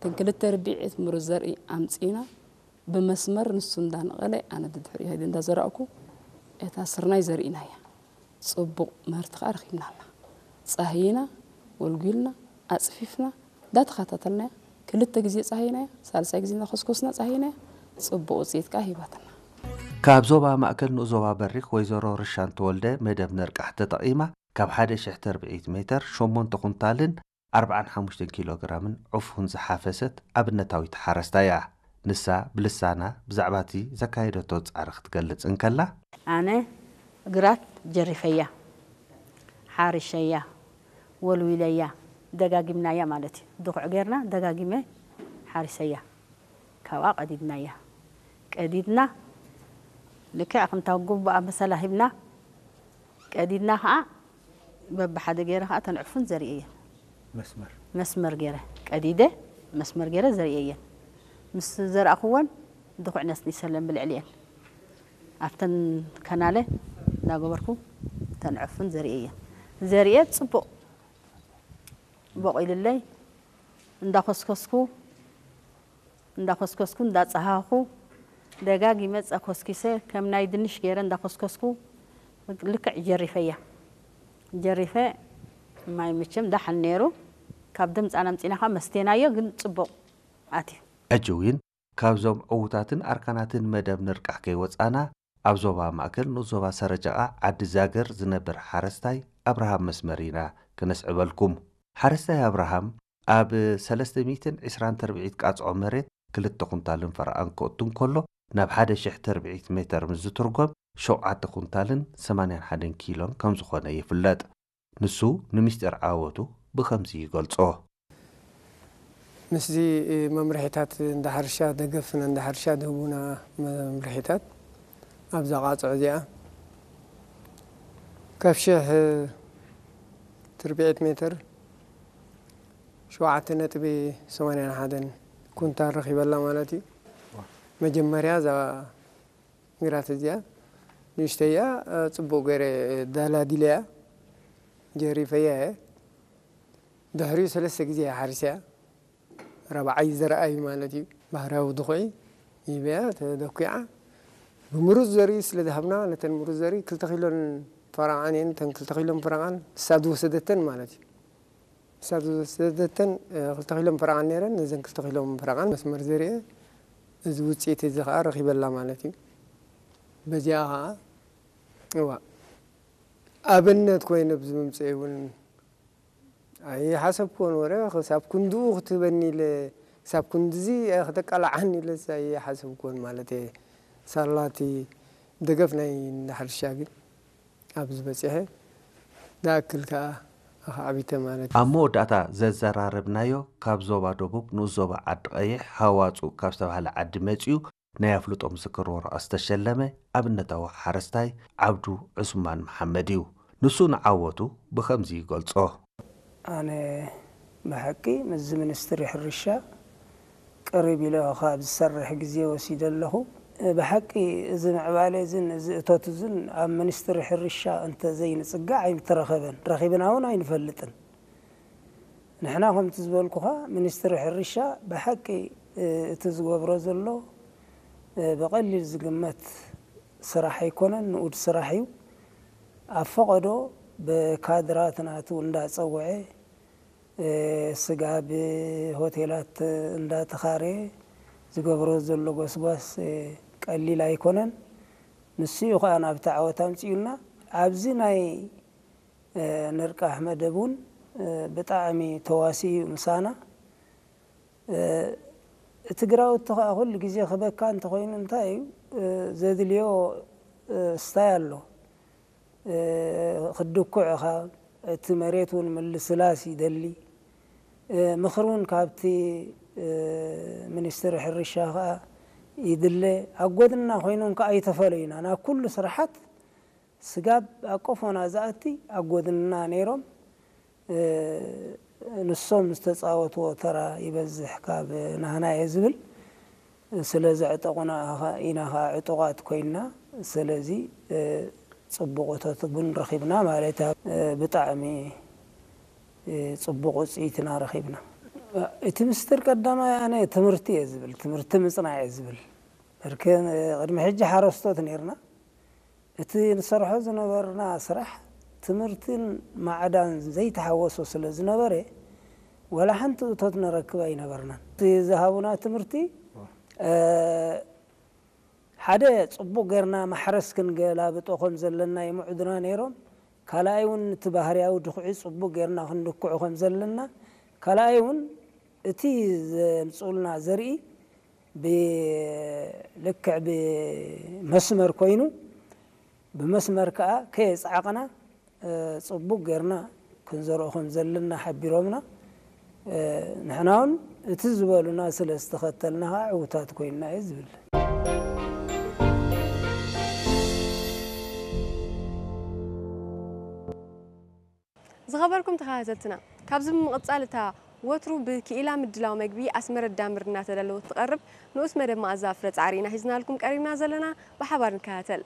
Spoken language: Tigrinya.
እተን ክልተ ርብዒት ምሩዝ ዘርኢ ኣምጺእና ብመስመር ንሱ እንዳነቐለ ኣነ ድድሕሪኡ ኸይደ እንዳዘራእኩ እታ ስርናይ ዘሪእናያ። ጽቡቕ ምህርቲ ከኣ ረኺብናላ። ጻህይና፣ ጎልጒልና፣ ኣጽፊፍና፣ እንዳተኸታተልናያ ክልተ ግዜ ጻህይናያ፣ ሳልሳይ ግዜ እንዳኾስኮስና ጻህይናያ፣ ጽቡቕ ውጽኢት ከኣ ሂባትና። ካብ ዞባ ማእከል ንኡስ ዞባ በሪኽ ወይዘሮ ርሻን ተወልደ መደብ ነርቃሕ ተጠቒማ ካብ ሓደ ሽሕ ተርብዒት ሜተር ሸሞንተ ኩንታልን ኣርብዓን ሓሙሽተን ኪሎ ግራምን ዑፉን ዝሓፈሰት ኣብነታዊት ሓረስታይ እያ። ንሳ ብልሳና ብዛዕባ እቲ ዘካየደቶ ጻዕሪ ክትገልጽ እንከላ፣ ኣነ ግራት ጀሪፈያ፣ ሓሪሸያ፣ ወልዊለያ፣ ደጋጊምናያ ማለት እዩ። ድኹዕ ጌርና ደጋጊመ ሓሪሰያ። ካብኣ ቀዲድናያ። ቀዲድና ልክዕ ከምታ ግቡኣ መሰላ ሂብና ቀዲድና ኸዓ በብሓደ ገይረ ኸዓ ተንዕፉን ዘርእየን። መስመር። መስመር ገይረ ቀዲደ መስመር ገይረ ዘርእየን። ምስ ዘርኣኹወን ድኹዕ ነስኒሰለን ብልዕሊኤን ኣብተን ከናለ እንዳገበርኩ ተንዕፉን ዘርእየን። ዘርእየ ጽቡቕ ቦቒልለይ እንዳኾስኮስኩ እንዳኾስኮስኩ እንዳጸሃኹ ደጋጊመ ጸኮስኪሰ ከም ናይ ድንሽ ገይረ እንዳኾስኮስኩ ልክዕ ጀሪፈያ። ጀሪፈ ማይ መቸም ዳሕን ነይሩ። ካብ ድምፃን ኣምፂና ካብ መስተናዮ ግን ጽቡቕ ኣትዩ። ሕጂ እውን ካብዞም ዕዉታትን ኣርካናትን መደብ ንርቃሕ ከይወጻና ኣብ ዞባ ማእከል ንኡስ ዞባ ሰረጀቓ ዓዲ ዛገር ዝነብር ሓረስታይ ኣብርሃም መስመር ኢና ክነስዕበልኩም። ሓረስታይ ኣብርሃም ኣብ ሰለስተ ሚእትን ዕስራን ተርብዒት ቃጽዖ መሬት ክልተ ኩንታልን ፈረቓን ክእቱ እንከሎ ናብ ሓደ ሽሕ ተርብዒት ሜተር ምስ ዝትርጎም ሸውዓተ ኩንታልን ሰማንያን ሓደን ኪሎን ከም ዝኾነ ይፍለጥ። ንሱ ንምስጢር ዓወቱ ብኸምዚ ይገልጾ። ምስዚ መምርሒታት እንዳ ሕርሻ ደገፍን እንዳ ሕርሻ ዝህቡና መምርሒታት ኣብዛ ቃጽዖ እዚኣ ካብ ሽሕ ትርብዒት ሜትር ሸውዓተ ነጥቢ ሰማንያን ሓደን ኩንታል ረኺበላ ማለት እዩ። መጀመርያ እዛ ግራት እዚኣ ንእሽተያ ጽቡቕ ገይረ ዳላዲለያ ጀሪፈያ እየ። ድሕሪኡ ሰለስተ ግዜ እየ ሓሪሰያ። ራብዓይ ዘርኣይ ማለት እዩ። ባህርያዊ ድኹዒ ይበያ ተደኲዓ። ብምሩዝ ዘርኢ ስለ ዝሃብና ነተን ምሩዝ ዘርኢ ክልተ ኪሎን ፈረቓን እየን። እተን ክልተ ኪሎን ፈረቓን ንሳ ዝወሰደተን ማለት እዩ። ንሳ ዝወሰደተን ክልተ ኪሎን ፈረቓን ነይረን። ነዘን ክልተ ኪሎን ፈረቓን መስመር ዘርኤ እዚ ውፅኢት እዚ ከዓ ረኺበላ ማለት እዩ። በዚኣ ከዓ እዋ ኣብነት ኮይነ ብዝምፅእ እውን ኣይሓሰብኩዎን ወረ ክሳብ ክንድኡ ክትህበኒ ኢለ ክሳብ ክንድዚ ክተቃላዓኒ ኢለስ ኣይሓሰብኩዎን ማለት እየ። ሳላቲ ደገፍ ናይ እንዳ ሕርሻ ግን ኣብዚ በፂሐ ዝኣክል ከዓ ኣኻዕቢተ ማለት እዩ። ኣብ መወዳእታ ዘዘራረብናዮ ካብ ዞባ ደቡብ ንኡስ ዞባ ዓዲ ቀይሕ ሃዋፁ ካብ ዝተባህለ ዓዲ መፂኡ ናይ ኣፍልጦ ምስክር ወረቐት ዝተሸለመ ኣብነታዊ ሓረስታይ ዓብዱ ዑስማን መሓመድ እዩ። ንሱ ንዓወቱ ብኸምዚ ይገልጾ። ኣነ ብሓቂ ምስዚ ሚኒስትሪ ሕርሻ ቅርብ ኢለ ካብ ዝሰርሕ ግዜ ወሲደ ኣለኹ። ብሓቂ እዚ ምዕባለ እዝን እዚ እቶት እዝን ኣብ ሚኒስትሪ ሕርሻ እንተዘይንጽጋዕ ኣይምተረኸበን፣ ረኺብና እውን ኣይንፈልጥን። ንሕና ከምቲ ዝበልኩኻ ሚኒስትሪ ሕርሻ ብሓቂ እቲ ዝገብሮ ዘሎ ብቐሊል ዝግመት ስራሕ ኣይኮነን፣ ንኡድ ስራሕ እዩ። ኣብ ፈቐዶ ብካድራት ናቱ እንዳጸውዐ ስጋብ ሆቴላት እንዳተኻረየ ዝገብሮ ዘሎ ጎስጓስ ቀሊል ኣይኮነን። ንሱ እዩ ኸኣ ናብቲ ዓወት ኣምጺኡና። ኣብዚ ናይ ንርቃሕ መደብ እውን ብጣዕሚ ተዋሲኡ እዩ ምሳና። እቲ ግራውቲ ኸኣ ኩሉ ግዜ ክበካ እንተኾይኑ እንታይ እዩ ዘድልዮ ስታይ ኣሎ። ክድኩዕ ኢኻ፣ እቲ መሬት እውን ምልስላስ ይደሊ። ምኽሪ እውን ካብቲ ሚኒስትሪ ሕርሻ ኸኣ ይድለ። ኣብ ጎድንና ኮይኖም ከኣ ኣይተፈለዩና። ናብ ኩሉ ስራሓት ስጋብ ኣብ ቆፎና ዝኣቲ ኣብ ጎድንና ነይሮም። ንሶም ዝተጻወትዎ ተራ ይበዝሕ ካብ ናህና እየ ዝብል። ስለ ዘዕጠቑና ኢኻ-፣ ኢና ኸኣ ዕጡቓት ኮይንና። ስለዚ ጽቡቕ እቶት እውን ረኺብና ማለት እያ። ብጣዕሚ ጽቡቕ ውጽኢት ኢና ረኺብና። እቲ ምስጢር ቀዳማይ ኣነ ትምህርቲ እየ ዝብል፣ ትምህርቲ ምጽናዕ እየ ዝብል። እርክ ቅድሚ ሕጂ ሓረስቶት ነርና። እቲ ንሰርሖ ዝነበርና ስራሕ ትምህርትን ማዕዳን ዘይተሓወሶ ስለ ዝነበረ፣ ወላ ሓንቲ እቶት ንረክብ ኣይነበርናን። እቲ ዝሃቡና ትምህርቲ፣ እ፣ ሓደ ጽቡቕ ጌርና ማሕረስ ክንገላብጦ ከም ዘለና ይምዕዱና ነይሮም። ካልኣይ እውን እቲ ባህርያዊ ድኹዒ ጽቡቕ ጌርና ክንድኩዖ ከም ዘለና፣ ካልኣይ እውን እቲ ዘምጽኡልና ዘርኢ ብልክዕ ብመስመር ኮይኑ፣ ብመስመር ከኣ ከየጽዓቕና፣ እ፣ ጽቡቕ ጌርና ክንዘርኦ ከም ዘለና ሓቢሮምና። እ፣ ንሕና እውን እቲ ዝበሉና ስለ ዝተኸተልና ከኣ ዕዉታት ኮይንና እዩ ዝብል። ዝኸበርኩም ተኸታተልትና፣ ካብዚ ብምቕጻል እታ ወትሩ ብክኢላ ምድላው መግቢ ኣስመረት ዳምር እናተዳለወት ትቐርብ ንኡስ መደብ መኣዛ ፍረ ጻዕሪ ኢና ሒዝናልኩም ቀሪብና ዘለና። ብሓባር ንከታተል።